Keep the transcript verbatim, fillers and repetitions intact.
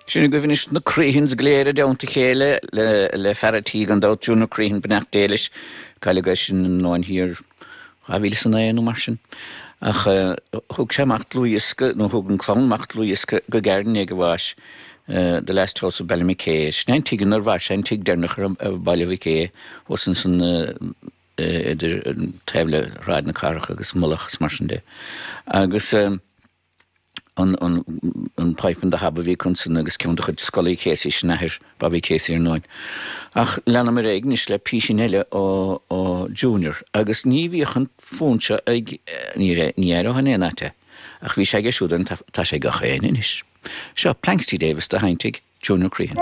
Sin agaibh anois na Creehans go léir i dteannta a chéile le le fear a' tí gan dabht Junior Crehan beannacht Dé leis cailleadh eisean i nDomhan Thiar dhá mhíle is a naoi nó mar sin. Ach thug sé amach dlúthdhiosca nó thug an clann amach dlúthdhiosca go gairid i ndiaidh a bháis The Last House of Ballymackay. Sin é an tigh inar mhair sé an tigh deireanach ar Bhaile Mhic Aodha thuas ansan idir taobh le Sráid na Cathrach agus Mullach is mar sin de. Agus an an an Pipe and the Hob a bhí acu ansan agus ceann de chuid Scully Casey sin athair Bobby Casey ar ndóin. Ach leanamar ar aghaidh anois le písín eile ó ó Junior agus ní bhíodh an fón seo ag ní ní aireofá in aon áit é ach bhí sé aige siúd ar an tá sé ag gach éinne anois. Seo Planxty Davis do sheinntigh Junior Crehan.